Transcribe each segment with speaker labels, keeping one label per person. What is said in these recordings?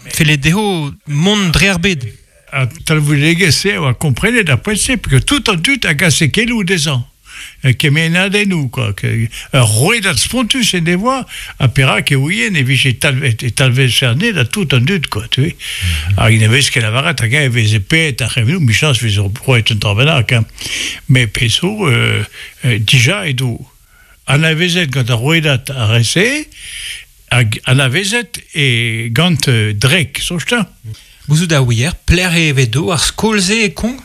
Speaker 1: felle dezho mont dre ar bed.
Speaker 2: An talvoudegezh-se a oa komprenet ar poent-se, peogwir tout an dud a gase keloù dezhañ, kemennadennoù kwa. Ur rouedad spontus en devoa, ha perak e ouien e vije talvet, e talvezfe anezhe da tout an dud kwa, tu vois. Hag ne vez ket lavaret hag-eñ e veze paeet ar c'hevnoù, 'michañs e veze roet un dra bennak, hein. Met pezh zo, dija edo anavezet gant ar rouedad ar re-se, hag anavezet e gant Drek, soñj-te?
Speaker 1: Gouzout a ouier pelec'h e vedo ar skol-se e Konk?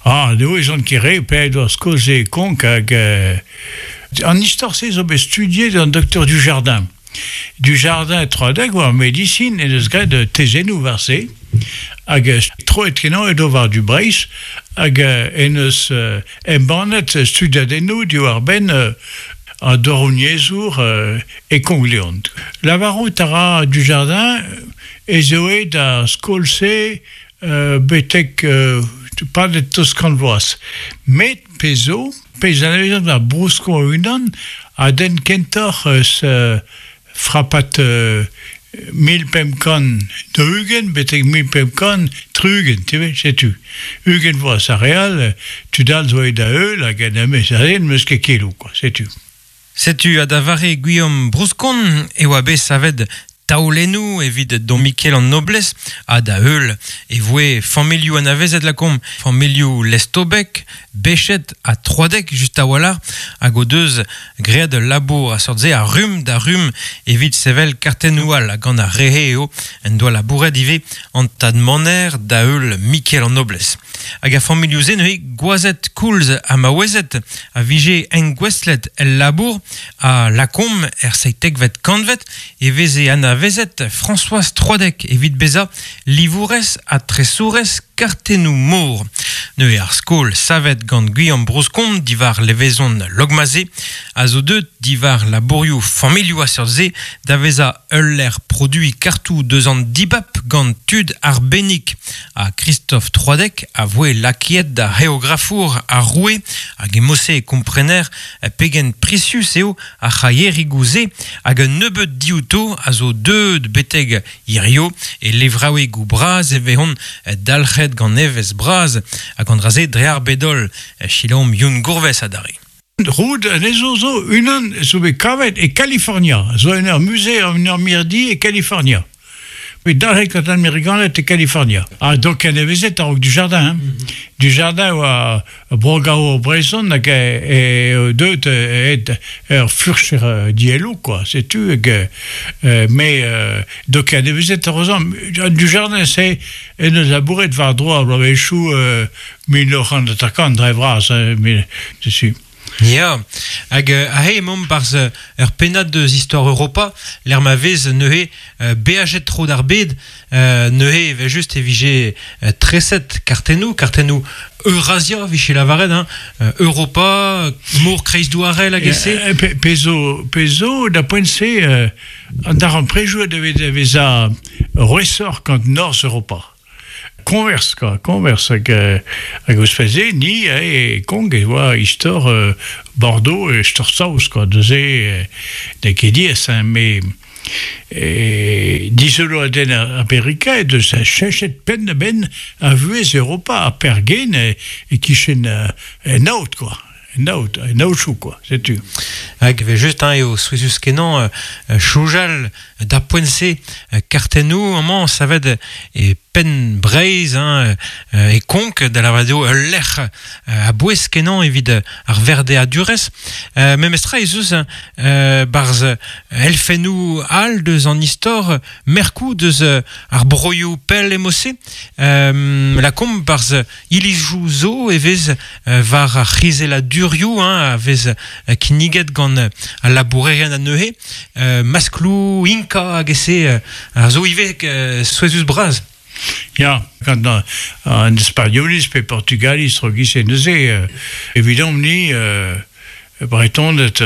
Speaker 2: Ah, ne ouezan ket re pelec'h edo ar skol-se e Konk hag an istor-se zo bet studiet gant doktor Dujardin. Dujardin Troadec war medisin en deus graet tezennoù war se hag troet-kenañ edo war du Breizh hag en deus embannet studiadennoù diwar-benn an douaroniezhour e Konk-Leon. Lavarout a ra Dujardin ez eo aet ar skol-se betek padet tost kant vloaz. Met pezh zo, pezh anavezet war Brousko e-unan a denn kentoc'h eus Frapad 1540 betek 1560, tu vois, setu. 20 vloaz ar re all, tud all zo aet da heul hag en em n'eus ket keloù, quoi, setu.
Speaker 1: Setu ha da vare Guillaume Brouskon e oa bet savet taolennoù evit Dom Mikel an Noblez ha da heul e voe familhoù anavezet lakaomp familhoù Lestobek, Bechet ha Troadec just a-walc'h hag o deus graet ul labour a seurt-se a rumm da rumm evit sevel kartennoù all ha gant ar re-se eo en doa labouret ivez an tad Maner da heul Mikel an Noblez. Hag ar familhoù-se neuze gwazed koulz ha maouezed a vije engouestlet el labour ha lakaomp er seitekvet kantved e veze anavezet Françoise Troadec evit bezañ livourez ha tresourez kartennoù-mor. Neuze ar skol savet gant Guillaume Brouscon diwar levezon Logmaze a zo deuet diwar labourioù familhoù a seurt-se da vezañ ul lec'h produiñ kartoù deus an dibab gant tud arbennik. Ha Christophe Troadec a voe lakaet da c'heografour ar roue hag e mod-se e komprener pegen prisius eo ar c'haierigoù-se hag un nebeud diouto a zo deuet betek hirio e levraouegoù bras e vezont dalc'het gant evezh bras hag an dra-se dre ar bed-holl. Selaomp Youn Gourves adarre.
Speaker 2: Roud anezho zo unan zo bet kavet e Kalifornia, zo en ur muze, en ur mirdi e Kalifornia. Bet dalc'het gant an Amerikaned e Kalifornia. Ha donc anavezet a-raok Dujardin. Hein. Mm -hmm. Dujardin oa brogaour brezhon hag e deuet aet ur furcher dielloù quoi, setu hag mais donc anavezet heureusement Dujardin c'est en deus labouret war-dro ar bloavezhioù 1950 dre vras, mais dessus.
Speaker 1: Ya, hag aze emaomp 'barzh ur pennad deus istor Europa, lec'h ma vez neuze beajet tro d'ar bed, neuze evel-just e vije treset kartennoù, kartennoù Eurasia 'vije lavaret, hein, Europa, mor kreizdouarel hag e-se.
Speaker 2: Pezh zo, pezh zo da poent-se, an darempredoù a devez da vezañ rouesoc'h gant Norzh Europa. Koñvers, kwa, koñvers hag hag ouzhpenn-se ni e Kong e oa istor Bordeaux e istor saoz kwa neuze n'eo ket diaes hein met dizoloadenn Amerika he deus cheñchet penn-da-benn ar vuhez Europa ha pergen e-kichen en aod kwa. En aod, en aochoù quoi, setu.
Speaker 1: Hag evel-just hein, eo souezhus-kenañ soñjal d'ar poent-se kartennoù amañ savet e penn Breizh hein, e Konk da lavaret eo ul lec'h a-bouez-kenañ evit ar verdeadurezh. Memestra ez eus 'barzh elfennoù all deus an istor merkoù deus ar broioù pell emo-se. Lakaomp 'barzh Ilizoù zo e vez war ar c'hizelladurioù hein, a vez kinniget gant al labourerien anezhe. Maskloù Inka hag e-se a zo ivez souezhus-bras.
Speaker 2: Ya, gant an Spagnoliz pe Portugaliz tro-giz-se neuze, evidomp-ni, Bretoned,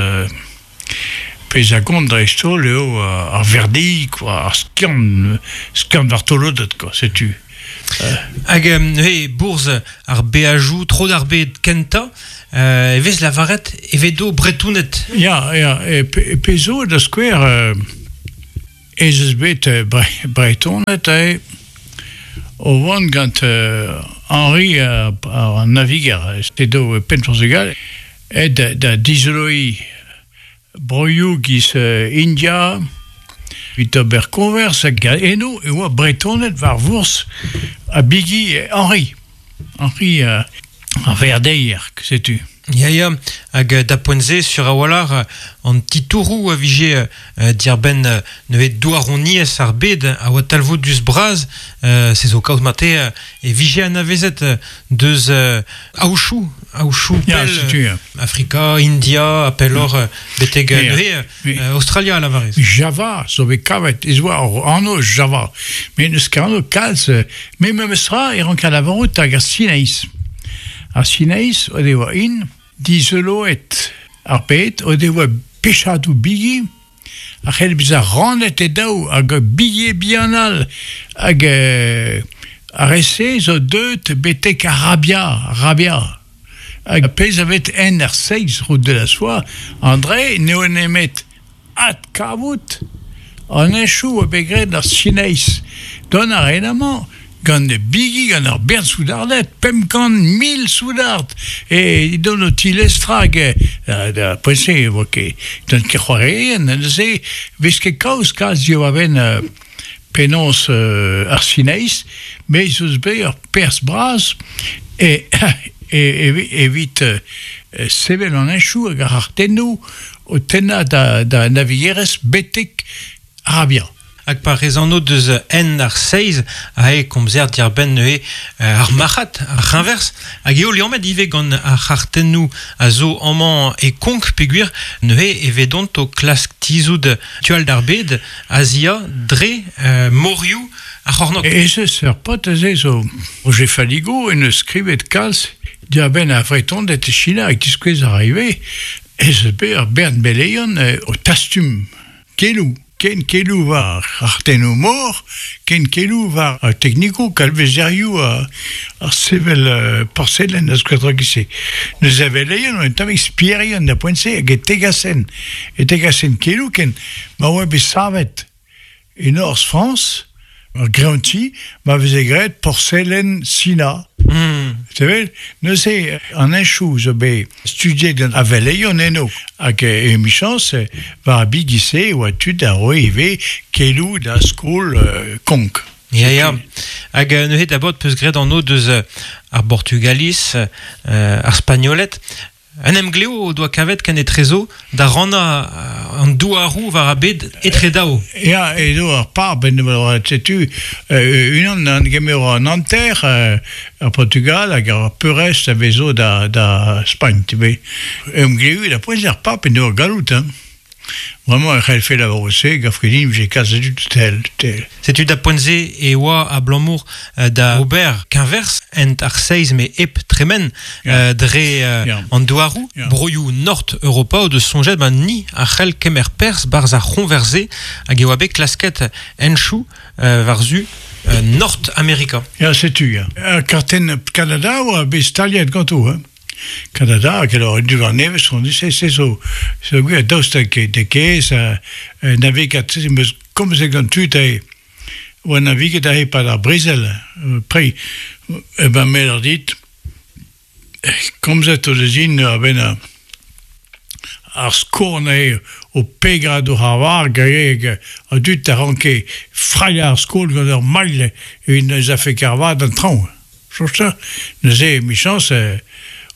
Speaker 2: pezh a gont dreist-holl eo ar verdeig, quoi, ar skiant, skiant vartoloded, quoi, setu.
Speaker 1: Hag neuze bourzh ar beajoù tro d'ar bed kentañ e vez lavaret e vedo Bretoned.
Speaker 2: Ya, ya, e pezh zo da skouer. Ez eus bet Bretoned aze o vont gant Henri ar naviger, edo e penn Portugal, aet da dizoloiñ broioù giz India evit ober koñvers hag eno e oa Bretoned war vourzh ha bigi Henri. Henri ar Verdeier, setu.
Speaker 1: Ya, ya, hag da poent-se, sur a-walc'h, an titouroù a vije diarbenn neuze douaroniezh ar bed a oa talvoudus-bras. Se zo kaoz marteze e vije anavezet deus aochoù, aochoù pell,
Speaker 2: setu, ya.
Speaker 1: Afrika, India, ha pelloc'h betek neuze Aostralia a lavarez.
Speaker 2: Java zo bet kavet, ez oa ur anv Java. Met n'eus ket anv kalz, met memestra e ranker lavarout hag ar Sinaiz. Ar Sinaiz o devoa int dizoloet ar bed, o devoa pechadoù bigi a c'hell bezañ rannet e daou hag bigi bihan all hag ar re-se zo deuet betek Arabia, Arabia. Hag pezh a vez en ar seizh route de la soie, André n'eo nemet adkavout an henchoù a bet graet ar Sinaiz. Dont a raent amañ gant bigi gant ur bern soudarded, 500 000 soudard e dont o tilestrañ hag da poent-se e oa ket dont ket c'hoarierien neuze 'vez ket kaoz kalz diwar-benn penaos ar Sinaiz met ez eus bet ur perzh bras evit sevel an henchoù hag ar c'hartennoù o tennañ da navigerezh betek Arabia.
Speaker 1: Hag pa rez anv deus en ar seizh aze komzer diarbenn neuze ar marc'had, ar c'heñverz, hag eo liammet ivez gant ar c'hartennoù a zo amañ e Konk peogwir neuze e vedont o klask tizhout tu all d'ar bed, Azia, dre morioù ar c'hornôg.
Speaker 2: Ez eus ur paotr aze zo Roger Faligo en deus skrivet kalz diarbenn ar Vretoned e Sina hag diskouez a ra ivez ez eus bet ur bern beleion o tastum keloù, ken keloù war ar tennoù-mor, ken keloù war ar teknikoù kalvezerioù ar sevel porselenn ha skoaz se. Neuze a veleion un tammig spierien da poent-se hag e tegasen, e tegasen keloù ken ma oa bet savet E norzh Frañs, ur greanti ma veze graet porselen Sina. Te wel? Neuze, an henchoù zo bet studiet gant aveleion eno. Hag emichañs, war ar bigi-se e oa tud a roe ivez keloù da skol Konk.
Speaker 1: Ya, ya. Hag neuze d'abord 'peus graet anv deus ar Bortugaliz, ar Spagnoled. Un emglev o doa kavet kenetrezo da rannañ an douaroù war ar bed etre daou.
Speaker 2: Ya, edo ar pab en devoa setu unan an gemero an hanter ar Portugal hag ar peurrest a vezo da, da Spagn. Emglev da poent ar pab en devoa galloud. Hein. Bremañ e c'hellfe lavarout se, gav ket din 'vije kalz a dud tel, tel.
Speaker 1: Setu da poent-se e oa abalamour da ober keñverz ent ar seizh met hep tremen dre an douaroù. Broioù Nord Europa o deus soñjet ma ni a c'hell kemer perzh 'barzh ar c'hoñvers-se hag e oa bet klasket henchoù war-zu Nord Amerika.
Speaker 2: Ya, setu, ya. Kartenn Kanada a oa bet staliet ganto, hein. Kanada hag alors un duvan nevez on se se zo zo gwir daoust hag de kez navigat em eus komzet gant tud aze oa naviget aze e-pad ar brezel pre e ben me lâr dit komzet o deus int a-benn ar skorn eo o pegañ doc'h ar vag hag an dud a ranke frailhañ ar skol gant ur mailh evit ne 'z afe ket ar vad d'an traoñ. Soñj Neuze emichañs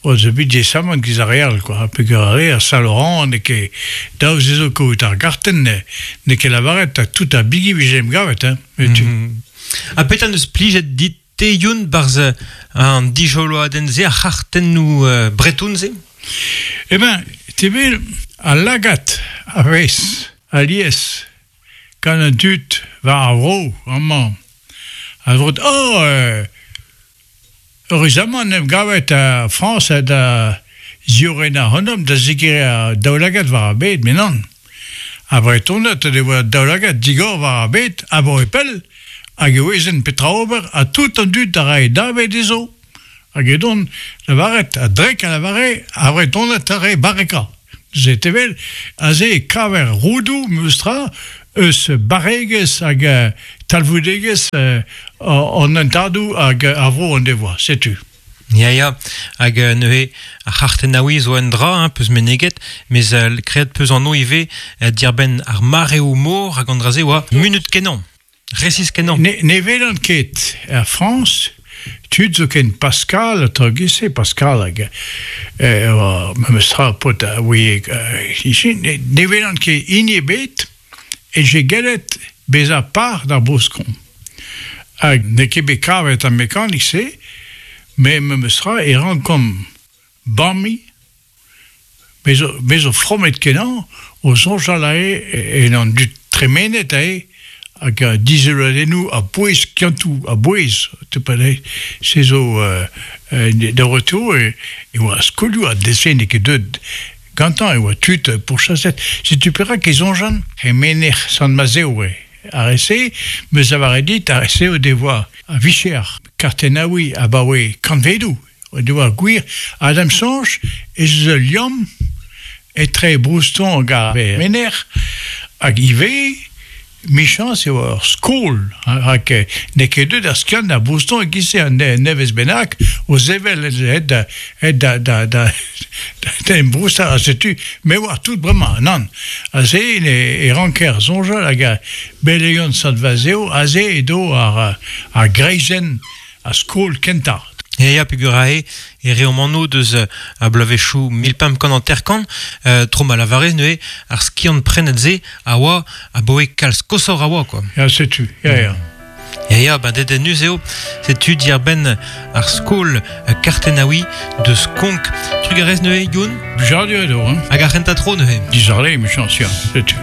Speaker 2: o deus bet diaesamant giz ar re all kwa peogwir ar re a Saint-Laurent n'eo ket dav dezho kaout ar gartenn n'eo ket lavaret ha tout ar bigi 'vije em gavet hein
Speaker 1: tu. Ha petra 'neus plijet dit te Youn 'barzh an dijoloadenn-se ar c'hartennoù breton-se?
Speaker 2: Eh ben, te wel al lagad a vez alies gant an dud war ar vro amañ. A vot oh eüruzamant en em gavet ar Frañs da ziorren ac'hanomp da zegemer ar daoulagad war ar bed, met nann. Ar Vretoned o devoa daoulagad digor war ar bed abaoe pell hag e ouezent petra ober ha tout an dud a rae dave dezho. Hag edont lavaret a-drek a lavare ar Vretoned a rae barrekañ. Neuze te wel, aze e kaver roudoù memes tra eus barregezh hag talvoudegezh an hentadoù hag ar vro en devoa, setu.
Speaker 1: Ya, ya, hag neuze ar c'hartennaouiñ zo un dra, hein, peus meneget, mes graet peus anv ivez diarbenn ar mareoù-mor hag an dra-se oa munut kenañ, resis kenañ.
Speaker 2: Ne, ne welan ket er Frañs tud zo ken Pascal ha tra giz-se, Pascal hag eh, oa memes tra paotr a ouie ne, ne welan ket hini ebet e je gellet bezañ par d'ar bouskon. Hag n'eo ket bet kavet ar mekanik-se, met memestra e rankomp bamiñ, me zo, me zo fromet-kenañ o soñjal aze en an dud tremenet aze hag dizoloadennoù a-bouez skiantoù a-bouez se zo da retour e oa skolioù ha dese n'eo ket deuet gantañ e oa tud pourchaset. Setu perak e soñjan e menec'h Sant-Mazev eo ar re-se, 'meus lavaret dit, ar re-se o devoa a vicher kartennaouiñ abaoe kantvedoù, o devoa gwir, ha da'm soñj ez eus ul liamm etre Brouston hag ar menec'h hag ivez Michañs eo ur skol, rak n'eo ket deuet ar skiant da Brouston e-giz-se un nevez bennak o sevel aet da da da da da em broustañ ha setu me oar tout bremañ, nann. Aze e ranker soñjal hag belegion Sant-Vazev, aze edo ar ar greizenn a skol kentañ.
Speaker 1: Ya, ya, peogwir aze e reomp anv deus a bloavezhioù 1550, tro ma lavarez neuze ar skiant-prenet-se a oa abaoe kalz koshoc'h a oa, quoi.
Speaker 2: Ya, setu, ya, ya.
Speaker 1: Ya, ya, ba dedennus eo, setu diarbenn ar skol kartennaouiñ deus Konk. Trugarez neuze, Youn.
Speaker 2: Blijadur eo, hein.
Speaker 1: Hag ar c'hentañ tro neuze.
Speaker 2: Dizale, emichañs, ya, setu.